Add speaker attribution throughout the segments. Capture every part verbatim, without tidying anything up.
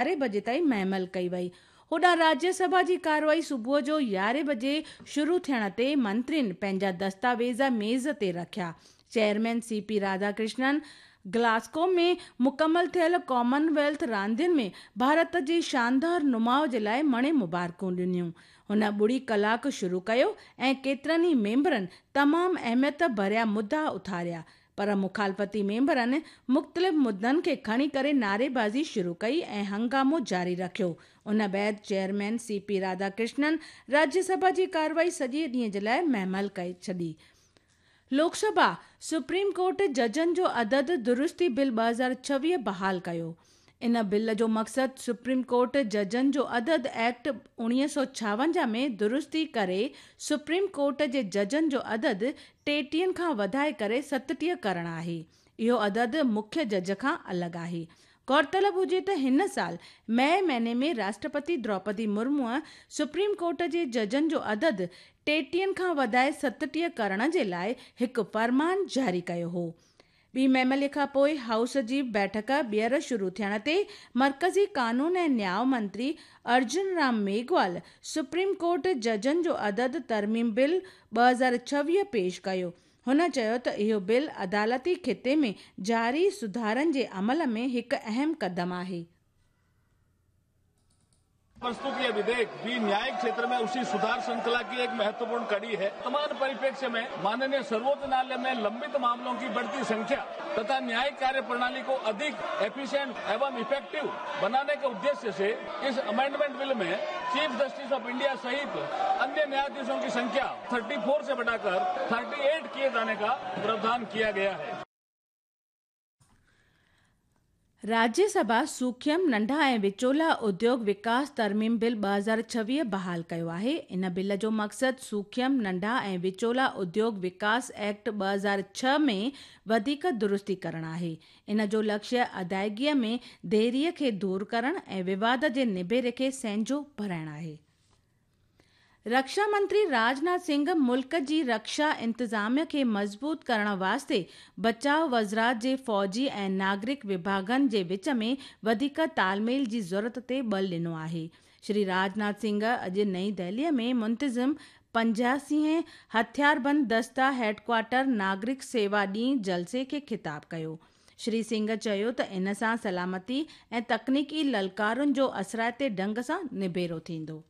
Speaker 1: يارهين بجي تائين مهمل ڪئي وئي. هوڏانهن راجيه سڀا جي ڪارروائي صبح جو يارهين بجي شروع ٿيڻ تي منترين پنهنجا دستاويز ميز تي رکيا. Chairman C P Radhakrishnan Glasgow ۾ مڪمل ٿيل ڪامن ويلٿ راندين ۾ ڀارت جي شاندار نماءُ جي لاءِ مڻي مبارڪون ڏنيون. هن ٻڙي ڪلاڪ شروع ڪيو ۽ ڪيترن ئي ميمبرن تمام اهميت ڀريا مدعا اٿاريا، پر مخالفتي ميمبرن مختلف مدعن کي کڻي ڪري نعريبازي شروع ڪئي ۽ هنگامو جاري رکيو. ان بعد چيئرمين سي پي راڌاڪرشنن راجيه سڀا جي ڪارروائي سڄي ڏينهن جي لاءِ مهمل ڪري ڇڏي. لوڪ سڀا سپريم ڪورٽ ججن جو عدد درستي بل ٻه هزار ڇويهه بحال ڪيو. ان بل جو مقصد سپريم ڪورٽ ججن جو عدد ايڪٽ اڻويهه سؤ ڇاونجاهه ۾ درستي ڪري سپريم ڪورٽ جي ججن جو عدد ٽيٽيهن کان وڌائي ڪري ستٽيهه ڪرڻ آهي. اهو عدد مکيه جج کان الڳ آهي. غور طلب هجي ته هن سال مئي مهيني ۾ راشٽرپتي دروپدي مرموءَ سپريم ڪورٽ جي ججن جو عدد ٽيٽيهن کان وڌائي ستٽيهه ڪرڻ جي لاءِ هڪ فرمان جاري ڪيو هو. ٻي مهملي کان پوءِ هائوس جي بيٺڪ ٻيهر شروع ٿيڻ تي مرڪزي قانون ۽ نياءُ منتري ارجن رام ميگهوال سپريم ڪورٽ ججن جو عدد ترميم بل ٻه هزار ڇويهه پيش ڪيو. هن چيو ته اهو بل عدالتي خطي ۾ جاري سڌارن جي عمل ۾ هڪ اهم قدم آهي.
Speaker 2: प्रस्तुत यह विधेयक भी न्यायिक क्षेत्र में उसी सुधार श्रृंखला की एक महत्वपूर्ण कड़ी है। वर्तमान परिप्रेक्ष्य में माननीय सर्वोच्च न्यायालय में लंबित मामलों की बढ़ती संख्या तथा न्यायिक कार्य प्रणाली को अधिक एफिशिएंट एवं इफेक्टिव बनाने के उद्देश्य से इस अमेंडमेंट बिल में चीफ जस्टिस ऑफ इंडिया सहित अन्य न्यायाधीशों की संख्या चौंतीस से बढ़ाकर अड़तीस किए जाने का प्रावधान किया गया है।
Speaker 1: राज्य सभा सूक्ष्म नंढा ऐं विचोला उद्योग विकास तरमीम बिल ٻه هزار ڇويهه بحال ڪيو آهي. ان بل جو مقصد सूक्ष्म ننڍا ۽ وچولا اديوگ وڪاس ايڪٽ ٻه هزار ڇهه ۾ وڌيڪ درستي ڪرڻ آهي. ان جو لڪشيه ادائگيءَ ۾ ديريءَ کي دور ڪرڻ ۽ وواد جي نبيري کي سهنجو ڀرائڻ آهي. رڪشا منتري راجناٿ سنگهه ملڪ جي رڪشا انتظاميه کي مضبوط ڪرڻ واسطي بچاءُ وزارت جي فوجي ۽ ناگرڪ وڀاڳن جي وچ ۾ وڌيڪ تالميل جي ضرورت تي ٻل ڏنو آهي. شري راجناٿ سنگهه اڄ نئين دهليءَ ۾ منتظم پنجاسي هٿياربند دستا هيڊ ڪوارٽر ناگرڪ سيوا ڏينهن جلسي کي خطاب ڪيو. شري سنگهه چيو ته ان سان سلامتي ۽ تڪنيڪي للڪارن جو اثرائتي ڍنگ سان نبيرو ٿيندو.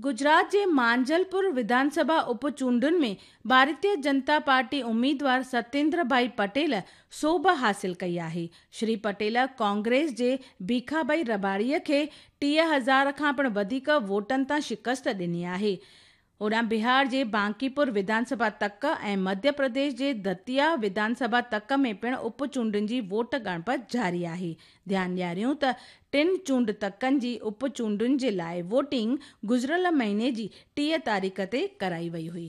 Speaker 1: گجرات جي مانجلپور وڌان سڀا اپ چونڊن ۾ ڀارتيه جنتا پارٽي اميدوار ستيندر ڀائي پٽيل سوڀ حاصل ڪئي آهي. شري پٽيل ڪانگريس جي ڀيکاڀائي رباڙيءَ کي ٽيهه هزار کان پڻ وڌيڪ ووٽن تان شڪست ڏني آهي. هوڏانهن بهار جي بانڪيپور وڌان سڀا تڪ ۽ مڌيه پرديش جي دتيا وڌان سڀا تڪ ۾ پڻ اپ چونڊن جي ووٽ ڳڻپ جاري آهي. ڌيان ڏياريون ته ٽن چونڊ تڪن جي اپ چونڊن جي لاءِ ووٽنگ گذريل مهيني جي ٽيهه تاريخ تي ڪرائي وئي هئي.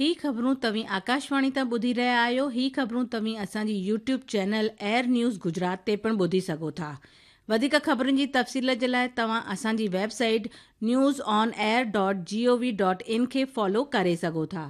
Speaker 1: هي خبرون توهين آڪاشواڻي تان ٻڌي رهيا آهيو. هي خبرون توهين اسان جي YouTube channel air news Gujarat تي پڻ ٻڌي سگهو ٿا. وڌيڪ خبرن جي تفصيل جي لاءِ توهان اسان جي website news on air dot G O V dot in کي فالو ڪري سگهو ٿا.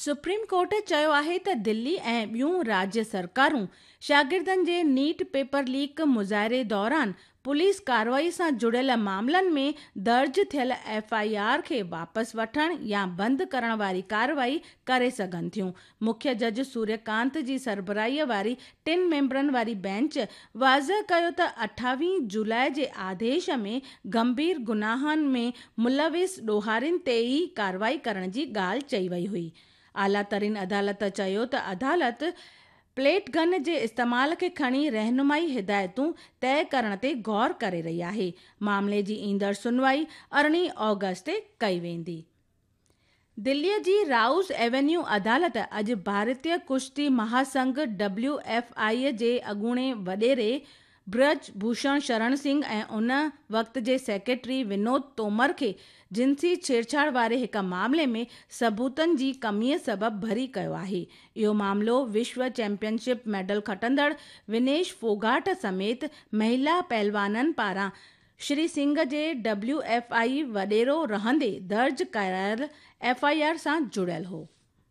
Speaker 1: سپريم ڪورٽ چيو آهي ته دلي ۽ ٻيون راجيه سرڪارون شاگردن جي نيٽ پيپر ليڪ مظاهري دوران پوليس ڪارروائي سان جڙيل معاملن ۾ درج ٿيل ايف I R کي واپس وٺڻ يا بند ڪرڻ واري ڪارروائي ڪري سگهن ٿيون. مکيه جج سوريڪانت جي سربراهيءَ واري ٽن ميمبرن واري بينچ واضح ڪيو ته اٺاويهه جولاءِ جي آديش ۾ گنڀير گناهن ۾ ملوث ڏوهارين تي ئي ڪارروائي ڪرڻ جي ڳالهه چئي وئي هئي. اعليٰ ترين عدالت چيو ته عدالت پليٽ گن جي استعمال کي کڻي رهنمائي هدايتون طئي ڪرڻ تي غور ڪري رهي آهي. معاملي جي ايندڙ سنوائي ارڙهين آگسٽ تي ڪئي ويندي. دليءَ جي رائوز ايونيو عدالت اڄ ڀارتيه ڪشتي مهاسنگهه ڊبليو ايف I جي اڳوڻي وڏيري برج ڀوشڻ شرڻ سنگهه ۽ ان وقت جي سيڪريٽري ونود تومر کي جنسي ڇيڙڇاڙ واري هڪ معاملي ۾ ثبوتن جي ڪميءَ سبب بري ڪيو آهي. اهو معاملو وشو چيمپيئن شپ ميڊل کٽندڙ ونيش ڦوگاٽ سميت مهلا پهلوانن پاران شري سنگهه جي ڊبليو ايف I وڏيرو رهندي درج ڪرايل ايف I R سان جڙيل هو.